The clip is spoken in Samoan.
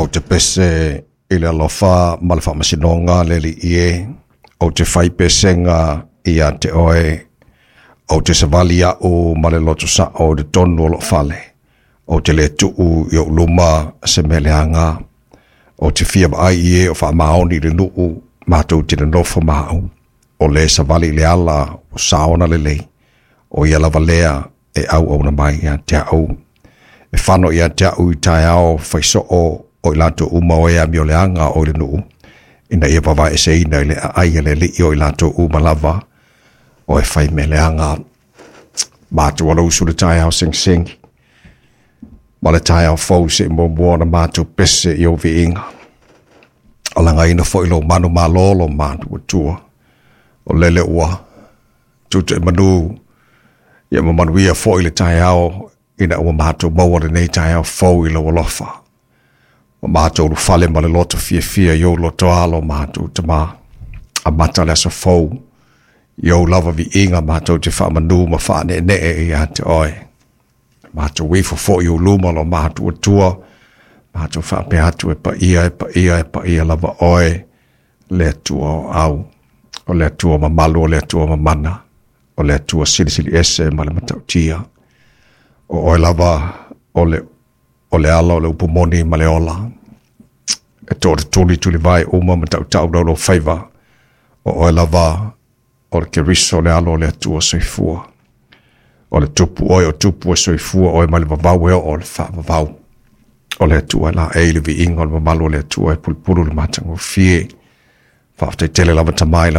te pese i le alofa ma le faamasinoga le Alii e, ou te fai pesega ia te oe, ou te savali au ma le loto sao i totonu o lou fale, ou te le tuu i ou luma se mea leaga, ou te fia vaai i e o faamaoni i le nuu, matou te nonofo ma au, o le savali i le ala o saona lelei, o ia lava lea e auauna mai ia te au. E fano ia te au i taeao faisoo o i latou uma o e amioleaga o i le nuu, ina ia vavaeeseina i le aai a le Alii o i latou uma lava o e fai mea leaga. Matou alausu le taeao segisegi ma le taeao fou se i muamua ona matou pese i ou viiga. O lagaina foi lou manu malo lo matou Atua. O lele ua tutu e manu ia ma manuia foi le taeao ina ua matou maua lenei taeao fou i lou alofa. Ua matou ulufale ma le loto fiafia i ou lotoa lo matou Tama. Amata le aso fou i ou lava viiga matou te faamanu ma faaneenee ia te oe. Matou ifo foi i ou luma lo matou Atua, matou faapea atu e paia, e paia, e paia lava oe, le Atua o au. O le Atua mamalu, o le Atua mamana, o le Atua silisili ese ma le matautia. O oe lava o le ala o le upu moni ma le ola. E tootutuli tulivae uma ma tautau laulofaiva. O oe lava o le Keriso le alo o le Atua soifua. O le tupu oe o tupu e soifua oe mai le vavau e oo le faavavau. O le Atua la e i le viiga o le mamalu o le Atua e pulupulu le matagofie. Faafetai tele lava Tama i lau